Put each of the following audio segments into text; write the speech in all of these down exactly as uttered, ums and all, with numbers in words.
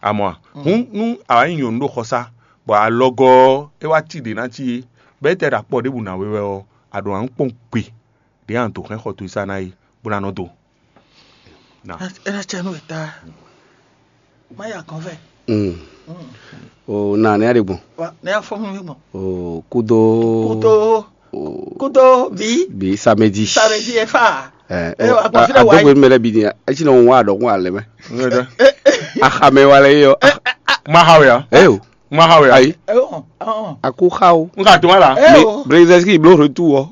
A mɔ a? Hǔn nú a wǎ nyí nyɔ̌nu ɖo xɔsá, bɔ alɔgɔ́ ɔ́, é wá cí ɖě ná cí é, bɔ é tɛ ɖo akpɔ ɖěbǔ ná we wɛ ɔ́, a ɖǒ ná kpɔ́n gbe ɖě a nǎ dǒ hɛn xɔ towe sá ná é, bó ná nɔ do. Na. É ná cɛ nú wěta. Má ya kɔn vɛ. Mm. O na nɛ́ ɖe gbɔn. Wa ne ya fɔ mi gbɔn. O kudo. Kudo. O kudo bi. Bi samedi. Samedi e fa. Ɛ Eh, o wa a- gbɔn fi ɖe wa adógbe yi. Mɛ lɛ bi ni esi nɔ wa dɔkun alɛ mɛ. Axamɛ wa lɛ yɔ. Ma ha wɛ ya. Ɛ o. Ma ha wɛ ya. Ayi. Ɛ o. Ɔn. Aku xa o. N ka to ma la. Ɛ o. Brezɛski blo retour wɔ.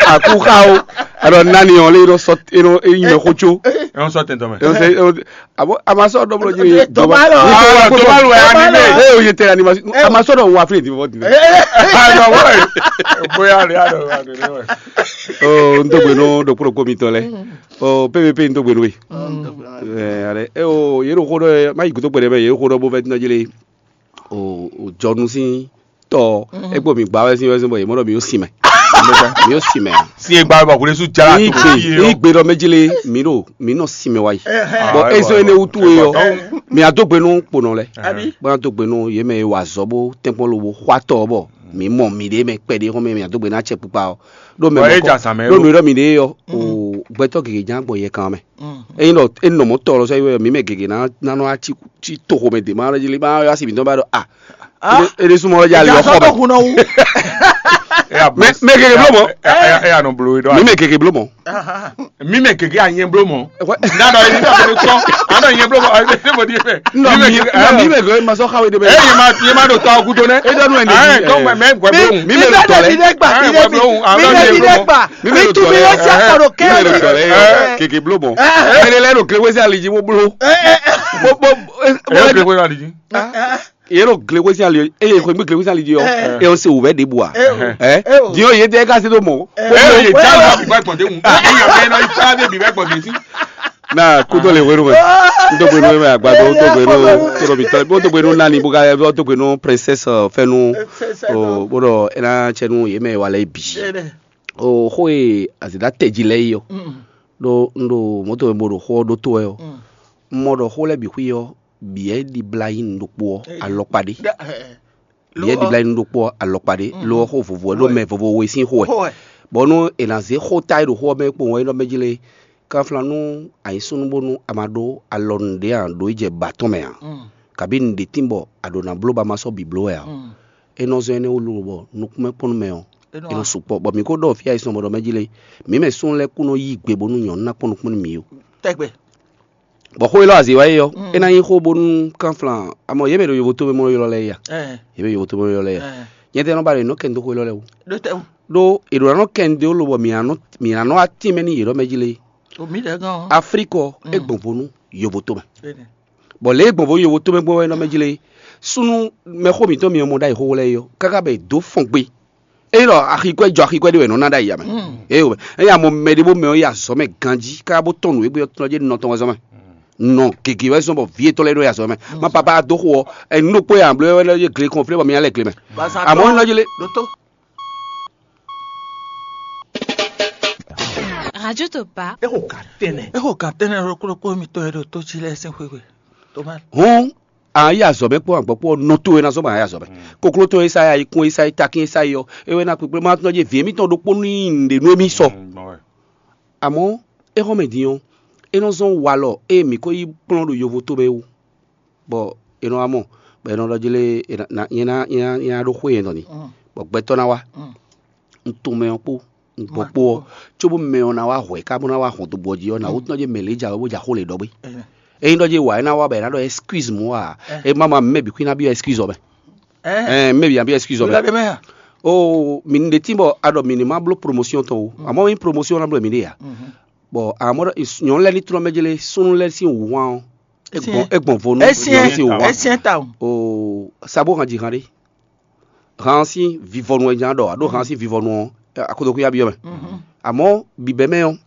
Aku xa o. Alors nani ɔn le yɔrɔ sɔ eno eyi mɛ xo tso. Ɛ n sɔ tɛntɔn mɛ. Abo a ma sɔ dɔ bolo jiri. Toma lɔ. Ah, Toma lɔ ya ni ne. Eh, o ye tɛ animation. A ma sɔ dɔ wa fle di fɔ di. Ah, non, ouais. Boya le ya do wa do ne ouais. Oh, n dɔgbe no do kuro ko mi tɔ lɛ. Oh, P V P n dɔgbe no we. Eh, ale. Eh, oh, ye do ko do ma yi kuto kpɛdɛ bɛ ye do ko do bo fɛ tin jele. Oh, oh, jɔnu sin tɔ. E kpo mi gba wɛ sin wɛ sin bɔ ye mɔ dɔ mi yo sin mɛ. Mi yo sin mɛ. Si e gba bɔ kule su jala Ní to gbe fi ní ye. Gbe ɖɔ mɛ jele mǐ ɖo mǐ nɔ sin mɛ wá yi. Bɔn Ah, ezo ouais, ene ouais, wutu ouais, e ɔ ouais. Mǐ adó gbe nú kponɔ lɛ. Abi. Bɔn adó gbe nú yě mɛ e wa azɔ̌ bó tɛ́nkpɔ́n lobo xɔ atɔ bɔ mǐ mɔ mǐɖée mɛ kpɛɖé xɔmɛ mǐ adó gbe ná acɛ kpukpa ɔ. Ɖó mɛ Bɔn é mɔ ja zan mɛ ɖó ɖó. Nǔ ɖɔ mǐɖée ɔ o gbɛtɔ́ gěgé ján gbɔn yɛ kan mɛ. Eyin ɖɔ é nɔ mɔ tɔ lɔ sɔ yi wɛ mǐ mɛ gěgé ná ná nɔ wá cí cí toxo mɛ dě ma lɔ jí lé ma wá sí mǐtɔn ba ɖɔ a. Ede súnmọ́ lɔ jali Ìjà ọkọ sọ́tò mɛ. Kùnà wú. Mɛ mɛ gègé bló mọ́. Ẹ yà nọ blo idɔ. Mi mɛ gègé bló mọ́. Mi mɛ gègé anyɛ bló mọ́. N'a dɔ yìí n'a bolo tɔ. N'a dɔ yẹn bló mọ́. Ẹ ṣe mo di fɛ. Nɔ mi nɔ mi mɛ gègé ma sɔ xawe de bɛ. Ẹ yẹ ma yẹ ma do tɔ kudo nɛ. E dɔ nu ẹ Ẹ nìyí. Tɔ mɛ mɛ gbẹ bló. Mi mɛ lo tɔ lɛ. Mi mɛ lo tɔ lɛ. Mi mɛ lo tɔ lɛ. Gègé bló mọ́. Mɛ lɛ lɛ do gègé wɛsɛ aliji mo bló. Mo mo. Ẹ yọ kele ko yọ aliji. Yero glekwesi ali eye xwe mi glekwesi ali di yɔ. Ẹ o se wò bɛ de bu a. Ẹ diɔ ye tɛ ka se do mɔ. Ẹ yẹ jalo ma bi ba gbɔn de mu. Ẹ yà bẹ nọ jalo bi ba gbɔn de si. Na kudo le wenu mɛ. N to gbenu mɛ agbado n to gbenu toro bi tɔ n to gbenu nani bo ka n to gbenu princesse fɛnu. O bo dɔ ena cɛnu ye mɛ wa lɛ bi. O xo ye azida tɛji lɛ yi yɔ. Do n do moto mɛ bo do xo do to yɔ. N mɔ dɔ xo lɛ bi xwi yɔ. Biɛ ɖibla nyí nu ɖokpó ɔ́ alɔkpa ɖé. Biɛ ɖibla nyí nu ɖokpó ɔ́ alɔkpa ɖé. Lo ɔ́ xó vovo wɛ ɖó mɛ vovo we sín xó wɛ. Bɔ nú è nǎ zé xó ta e ɖo xó ɔ́ mɛ kpowun wɛ é nɔ mɛ jlé. Kanflán nú a nyǐ súnnu bónú a ma ɖó alɔ nǔɖé ǎ ɖó yi jɛ ba tɔn mɛ ǎ. Kabí nǔɖé tín bɔ a ɖǒ ná bló ba ma sɔ́ bǐ bló wɛ ǎ. É nɔ zɔ́n énɛ́ wú lobo bɔ nukúnmɛ kpɔ́n nú mɛ ɔ́, é nɔ sukpɔ́. Bɔ mǐ ko ɖɔ fí ayisɔn bɔ ɖɔ mɛ jlé. Mǐ mɛ súnnu lɛ́ɛ kú nɔ yí gbe bónú nyɔ̌nu ná kpɔ́n nukúnmɛ nú mǐ ó. Tɛgbɛ. Bɔ xó élɔ́ azǐ wá é ɔ́, é ná nyí xó bónú kánflán amɔ yě mɛ ɖo yovo tómɛ mɔ ylɔ́ lɛ́ɛ ya. Yě mɛ yovo tómɛ ylɔ́ lɛ́ɛ ya. Nyɛ tɛ́ nɔ ba ɖo è nɔ kɛ nu dó xó élɔ́ lɛ́ɛ wú. Ɖó è ɖǒ ná nɔ kɛ nu dó lobɔ mǐ ná nɔ mǐ ná nɔ wá tínmɛ nú yě ɖɔ mɛ jí lé. Aflíkɔ é gbɔn vo nú yovo tómɛ. Bɔ lě e gbɔn vo nú yovo tómɛ gbɔn wɛ nɔ mɛ jí lé. Súnnu mɛxó mǐtɔn mi mɔ ɖ'ayǐ xóxó lɛ́ɛ é ɔ́, káká bɛ è dǒ fɔn gbe. Ényí ɖɔ axi kwɛ́ jɔ axi kwɛ́ ɖé wɛ nɔ ná ɖ'ayǐ ya mɛ. Eye wɛ ényí a mɔ mɛɖé bó mɛ ɔ́ yi azɔ̌ mɛ ganjí káká bó tɔn nǔ e gbé ɔ́ tɔn jɛ nɔ tɔn wɛ zɔ́n mɛ. Nɔ gěgé wɛ zɔ́n bɔ vǐ yětɔn lɛ́ɛ ɖo yi azɔ̌ mɛ. Ma papa dó xo ɔ́, ɛnú ɖokpó ya bló wɛ lɛ́ gle kɔn flé bɔ mi nya lɛ gle mɛ. Amɔ̌ nɔ jlé. Radio Topa. Exo ka tɛnɛ. Exo ka tɛnɛ ɖokpó ɖokpó mitɔn e ɖo tó jí lɛ́ɛ sín xwé. Hɔn a yi azɔ̌ mɛ kpó agbɔ̌ kpó nɔ towe ná zɔ́ bɔ a yi azɔ̌ mɛ. Kokló tɔn e sa yi ayikún e sa yi takín e sa yi ɔ́, é wɛ ná kpékplé má tɔn jɛ vǐ émítɔn ɖokpó ní nǔɖé nú émí sɔ. Amɔ̌ é xɔ́n mɛ din ɔ́, é nɔ zɔ́n walɔ ée mǐ ko yi kplɔ́n ɖo yovo tomɛ wú, bɔ è nɔ wá mɔ, bɔ è nɔ ɖɔ jlé nyɛ ná nyɛ ná ɖó xwé nyɛ dɔn ni, bɔ gbɛtɔ́ ná wá. Un tunwun mɛ ɔ́ kpó un gbɔ kpó ɔ́, cóbó mɛ ɔ́ ná wá hwɛ̌ ká bó ná wá hɔn dó gbɔ jí ɔ́, nǎ wútu ná jɛ mɛ lě jǎwe bó jɛ axó lě ɖɔ gbé. Ényí ɖɔ jɛ wǎ é ná wá bɔ è nǎ ɖɔ excuse mɔ a? É má ma mɛ bǐ xwí ná byɔ́ excuse ɔ́ mɛ. Ɛ mɛ bǐ ná byɔ́ excuse ɔ́ mɛ. O mi ɖe tín bɔ a ɖɔ mi ní má bló promotion tɔn o, àmọ́ nyí promotion ná bló mi ɖe ya. Bɔ àmọ́ nyɔ̌nu lɛ́ɛ ní tlɔ́ mɛ jlé súnnu lɛ́ɛ sín wǔhwan ɔ́, é gbɔn vo nú nyɔ̌nu sín wǔhwan. O sabo hàn jǐ hàn ɖé. Han sín vivɔnu wɛ nya ɖɔ aɖó han sín vivɔnu ɔ́ akotokuya byɔ́ mɛ. Amɔ̌ bǐbɛ́ mɛ ɔ́,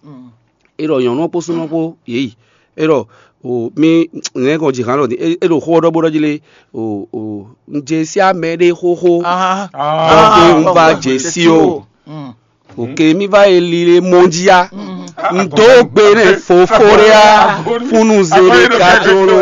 é ɖɔ nyɔ̌nu ɔ́ kpó súnnu ɔ́ kpó yě yi. É ɖɔ o mi nɛ̌ kɔn ji han ɖɔ é ɖo xó ɔ́ ɖɔ bó ɖɔ jí lé o o un jɛ sí amɛ ɖé xóxó. Ke un va jɛ sí o. Oke mi va yi li le mɔnjia. Ndo gbe ne fofo ɖe a funu ze ɖe ka do lo.